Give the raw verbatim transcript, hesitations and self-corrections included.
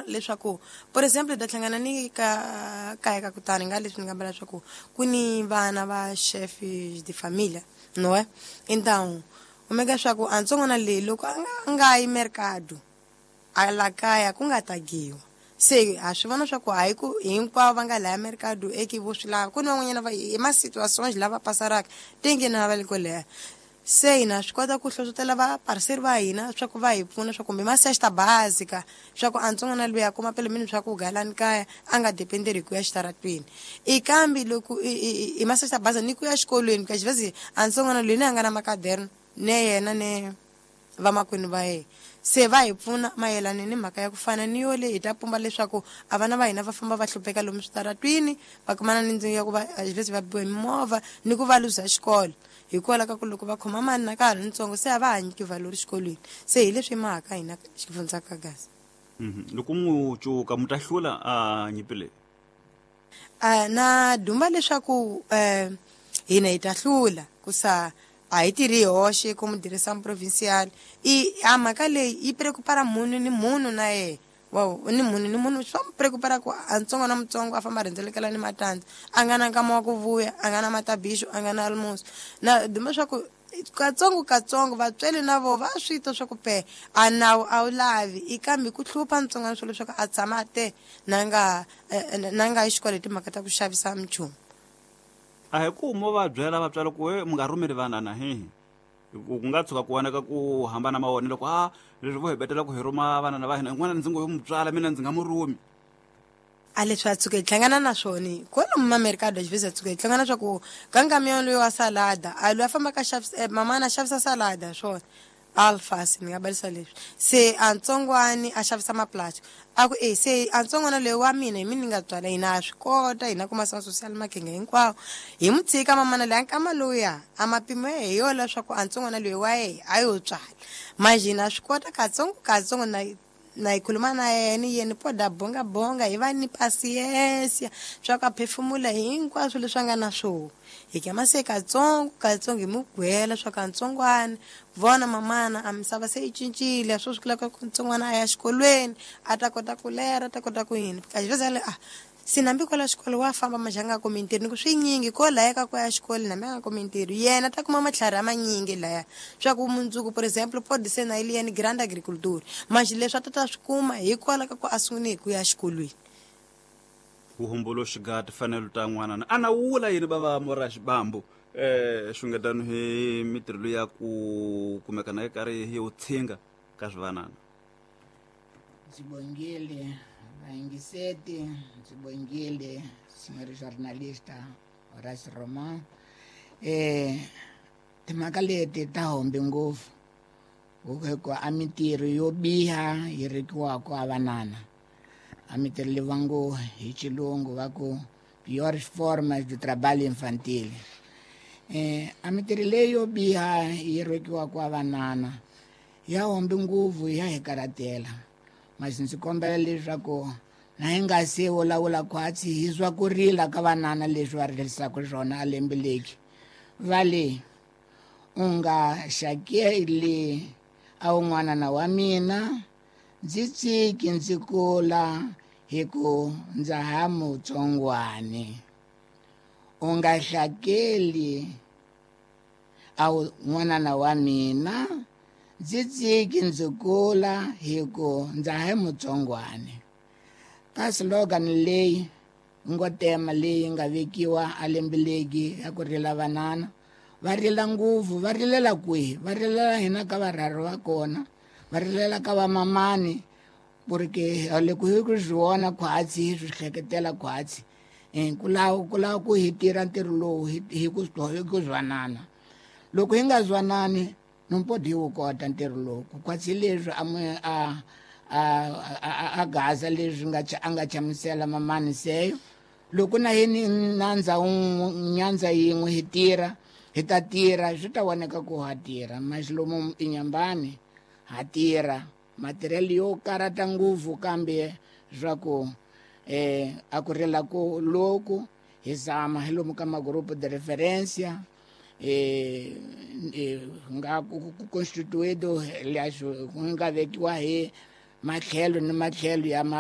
Leswaku, por exemple, hi ta hlangana ni ka kaya ka kutani nga leswi ni nga mbala leswaku ku ni vana va chef de família, não é? Então kumeka leswaku a ntsongwana leyi loko a nga a nga yi mercado a la kaya ku nga tagiwa. Se ha swi vona swa ku hayi ku hinkwavo va nga laya mercado eke vo swi lava, ku ni van'wanyana va hi ma situações lava pasaraka tenge na va le ko leha. Se hina swi kota ku hlohlotela va parceiro va hina swa ku va hi pfuna swa kumbe ma cesta básica, swa ku a ntsongwana luya a kuma pelo menos swa ku galani kaya, a nga dependeri hi ku ya xitaratweni. I kambe loko i ma cesta básica ni ku ya xikolweni ka xivezi, a ntsongwana loyi ni a nga na macaderno ne yena ne vamakwenu va yena. Se va hi pfuna mayelana ni mhaka ya ku fana ni yo leyi hi ta pumba leswaku a vana va hina va famba va hlupheka lomu switaratwini, va kumana ni ndzingo ya ku va xivezi va biwa hi mimovha ni ku va luza xikolo hikwalaho ka ku loko va khoma mani na ka ha ri ntsongo, se a va ha nyiki valori xikolweni. Se hi leswi mhaka hina xifundza ka Gaza. Loko mu cuka mu ta hlula a nyimpi leyi? A na dumba leswaku um hina hi ta hlula, ku sa a hi tirhi hi hoxe como direção provincial. I a mhaka leyi yi preocupara munhu ni munhu na yehe wa ni munhu ni munhu, swa mu preocupara ku a ntsongo na mutsongo a famba a rhendzelekela ni matandza, a nga na nkama wa ku vuya, a nga na matabixo, a nga na almoço. Na duma swa ku katsongo katsongo vatswari na voho va swi twa swa ku pe a nawu a wu lavi i kambe ku hlupha ntsongwana swo leswaku a tshama a te na nga na nga yi xikolo hi timhaka ta ku xavisa minchumu. A hi ku mo va byela vatswari ku we mi nga rhumeli vanana hehe, ku nga tshuka ku voneka ku hambana mavonelo ku a leswi vo hi betela ku hi rhuma vanana va hina, n'wana ndzi ngo yo mu tswala mina ndzi nga mu rhumi. A leswi a tshuka hi hlangana na swona kwalomu mamerikado xivezi a tshuka hi hlangana swa ku ka nkamiyo loyi wa salada a loyi a fambaka xavisa mamana a xavisa salada swona alfasi ni nga balisa leswi. Se a ntsongwani a xavisa maplastic, a ku e se a ntsongwana loyi wa mina hi mina ni nga tswala, hina ha swi kota hina kuma sa social makhenge hinkwawo hi mu tshika mamana loyi a nkama lowuya a mapimo ya hi yo leswaku a ntsongwana loyi wa yehe a yo tswala. Manje hina swi kota katsongo katsongo na na hi khuluma na yena yena poda bonga bonga hi va ni paciência swa ku a phefumula hinkwaswo leswi a nga na swona. Hi kama se katsongo katsongo hi mu gwela swa ka ntsongwana vona mamana a misava se yi cincile swo swi ku ntsongwana a ya xikolweni a ta kota ku lera, a ta kota ku yini. Ka xiveza le a se nambi kwala xikolo wa famba majanga kumi ntirho ni ku swinyingi ko laya ka ku ya xikolo nambi a nga kumi ntirho yena ta kuma matlhari a manyingi laya swa ku mundzuku, por exemple, pode ser na ili yena grande agriculture manje leswi a ta ta swi kuma hikwalaho ka ku a sungule hi ku ya xikolweni. Vuhumbuluxi ga timfanelo ta n'wana a na wula yini bava mora xibambu eh xungetano hi mitirho ya ku kumeka na karhi hi utshinga ka swivanana. Ndzi bongile vayingiseti, ndzi bongile senhor jornalista Horace Roman. Eh timhaka leti ta hombe ngopfu hikuva a mitirho yo biha yi rikiwaka a vanana, a mitirho leyi va ngo hi xilungu va ku piores formas de trabalho infantil. Eh a mitirho leyi yo biha yi rikiwaka a vanana ya hombe ngopfu, ya hi karhatela. Mas ndzi kombela leswaku na hi nga se vulavula khwatsi hi swa ku rila ka vanana leswi va rilisaka swona a lembe leki va le u nga xakeli a wun'wana na wa mina, ndzi tsiki ndzi kula hi ku ndza ha mutsongwani. U nga hlakeli a wun'wana wa mina, ndzi tsiki ndzi kula hi ku ndza ha mutsongwani. Ka slogan leyi ngo tema leyi nga vekiwa a lembe leki ya ku rila vanana, va rila ngopfu, va rilela kwihi? Va rilela hina ka varharhu va kona, va rilela ka vamamani, porque loko hi ku swi vona khwatsi hi swi hleketela khwatsi. Eh ku lava ku lava ku hi tirha ntirho lowu hi hi ku hi ku zwanana. Loko hi nga zwanani no pode hi wu kota ntirho lowu. Ku khwatsi leswi a a a a gaza leswi nga a nga chamusela mamani seyo. Loko na hini nandza nyandza yin'we hi tirha, hi ta tirha swi ta voneka ku ha tirha. Mas lomu inyambani ha tirha matirhelo yo karata ngopfu, kambe swa ku eh a ku rila ku loku hi zama hi lomu ka magrupo de referência eh nga ku constituído leswi ku nga vekiwa hi matlhelo ni matlhelo ya